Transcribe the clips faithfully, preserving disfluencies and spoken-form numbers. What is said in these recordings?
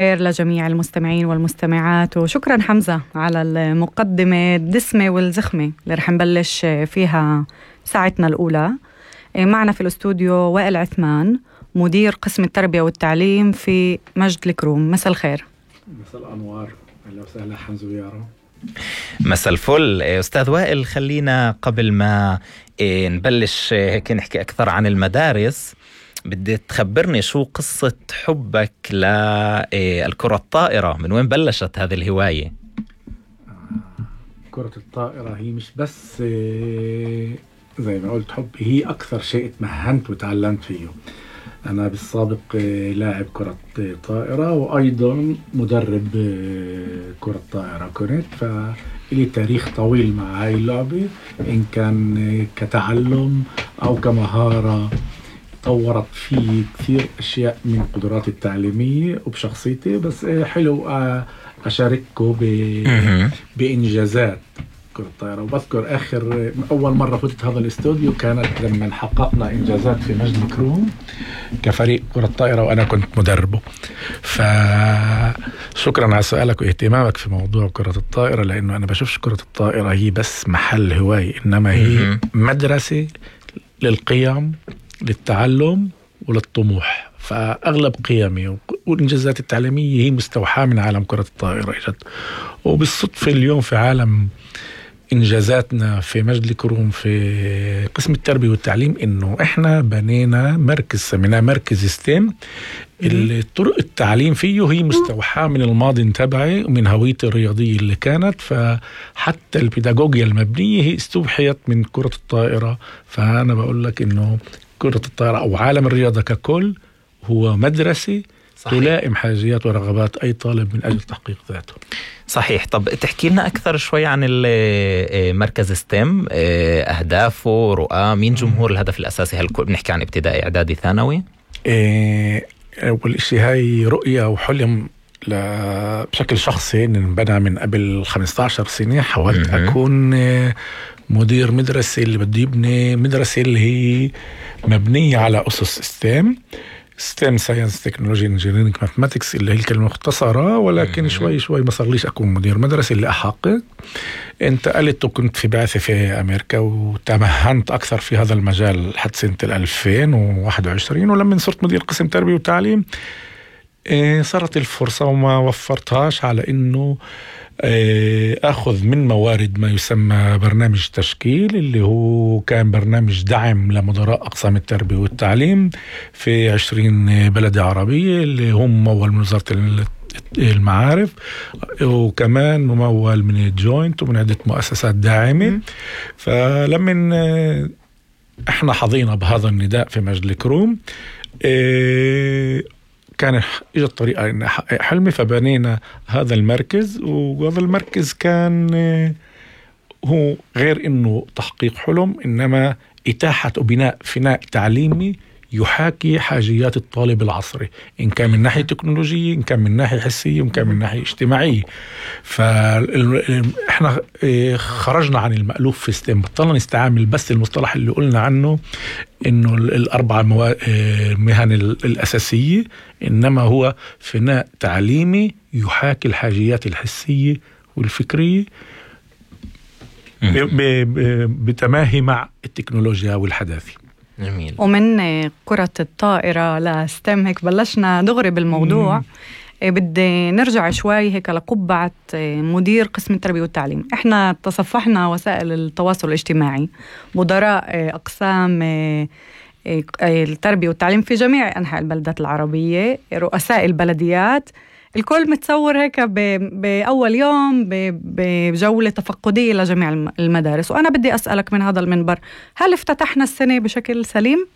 خير لجميع المستمعين والمستمعات، وشكرا حمزة على المقدمة الدسمة والزخمة اللي رح نبلش فيها ساعتنا الأولى. معنا في الاستوديو وائل عثمان، مدير قسم التربية والتعليم في مجد الكروم. مساء الخير. مساء الأنوار. أهلا وسهلا حمزة ويارا. مساء الفل أستاذ وائل، خلينا قبل ما نبلش هيك نحكي أكثر عن المدارس، بدي تخبرني شو قصة حبك للكرة الطائرة، من وين بلشت هذه الهواية؟ كرة الطائرة هي مش بس زي ما قلت حب، هي أكثر شيء تمهنت وتعلمت فيه. أنا بالسابق لاعب كرة طائرة وأيضا مدرب كرة طائرة كنت، فإلي تاريخ طويل مع هاي اللعبة، إن كان كتعلم أو كمهارة. طورت فيه كثير أشياء من قدراتي التعليمية وبشخصيتي، بس حلو أشاركه بإنجازات كرة الطائرة. وبذكر آخر أول مرة فتت هذا الاستوديو كانت لما حققنا إنجازات في مجد الكروم كفريق كرة الطائرة وأنا كنت مدربه. فشكرا على سؤالك واهتمامك في موضوع كرة الطائرة، لأنه أنا بشوفش كرة الطائرة هي بس محل هواية، إنما هي مدرسة للقيم، للتعلم وللطموح. فأغلب قيمي والإنجازات التعليمية هي مستوحاة من عالم كرة الطائرة إجد. وبالصدفة اليوم في عالم إنجازاتنا في مجد الكروم في قسم التربية والتعليم، إنه إحنا بنينا مركز سميناه مركز ستيم. الطرق التعليم فيه هي مستوحاة من الماضي تبعي ومن هويتي الرياضية اللي كانت، فحتى البيداغوجيا المبنية هي استوحيت من كرة الطائرة. فأنا بقول لك إنه كرة الطائرة أو عالم الرياضة ككل هو مدرسة صحيح. تلائم حاجيات ورغبات أي طالب من أجل تحقيق ذاته. صحيح. طب تحكي لنا أكثر شوي عن مركز ستيم، أهدافه، رؤى، مين جمهور الهدف الأساسي؟ هل بنحكي عن ابتدائي، إعدادي، ثانوي؟ أول شيء هاي رؤية وحلم بشكل شخصي انبنى من قبل خمسة عشر سنة. حاولت أكون مدير مدرسة اللي بدي يبني مدرسة اللي هي مبنية على أسس ستيم ستيم ساينس تكنولوجي انجينيرينج ماثماتكس اللي هي الكلمة مختصرة، ولكن شوي شوي ما صار ليش أكون مدير مدرسة اللي أحقق. انتقلت وكنت في بعثة في أمريكا وتمهنت أكثر في هذا المجال لحد سنة ألفين وواحد وعشرين، ولما صرت مدير قسم تربية وتعليم صارت الفرصة وما وفرتهاش على إنه أخذ من موارد ما يسمى برنامج تشكيل، اللي هو كان برنامج دعم لمدراء أقسام التربية والتعليم في عشرين بلدة عربية، اللي هم ممول من وزارة المعارف وكمان ممول من الجوينت ومن عدة مؤسسات داعمة. فلما احنا حظينا بهذا النداء في مجد الكروم كان إجت طريقة إن أحقق حلمي، فبنينا هذا المركز. وهذا المركز كان هو غير إنه تحقيق حلم، إنما إتاحة وبناء فناء تعليمي يحاكي حاجيات الطالب العصري، إن كان من ناحية تكنولوجية، إن كان من ناحية حسية، وإن كان من ناحية اجتماعية. فإحنا خرجنا عن المألوف في ستيم، بطلنا نستعمل بس المصطلح اللي قلنا عنه إنه الأربع مهن الأساسية، إنما هو فناء تعليمي يحاكي الحاجيات الحسية والفكرية بتماهي مع التكنولوجيا والحداثة. جميل. ومن كرة الطائرة لستيم هيك بلشنا دغري بالموضوع. مم. بدي نرجع شوي هيك لقبعة مدير قسم التربية والتعليم. احنا تصفحنا وسائل التواصل الاجتماعي مدراء أقسام التربية والتعليم في جميع أنحاء البلدات العربية، رؤساء البلديات، الكل متصور هيك بأول يوم بجولة تفقدية لجميع المدارس. وأنا بدي أسألك من هذا المنبر، هل افتتحنا السنة بشكل سليم؟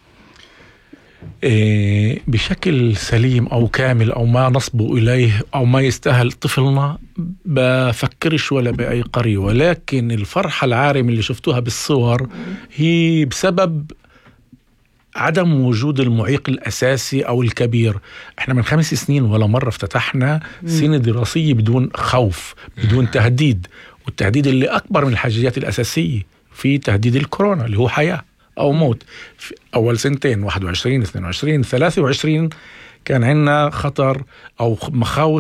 إيه بشكل سليم أو كامل أو ما نصبو إليه أو ما يستاهل طفلنا بفكرش ولا بأي قرية، ولكن الفرحة العارمة اللي شفتوها بالصور هي بسبب عدم وجود المعيق الأساسي أو الكبير. احنا من خمس سنين ولا مرة افتتحنا سنة دراسية بدون خوف، بدون تهديد، والتهديد اللي أكبر من الحاجيات الأساسية في تهديد الكورونا اللي هو حياة أو موت. في أول سنتين واحد وعشرين اثنين وعشرين ثلاثة وعشرين كان عندنا خطر أو مخاوف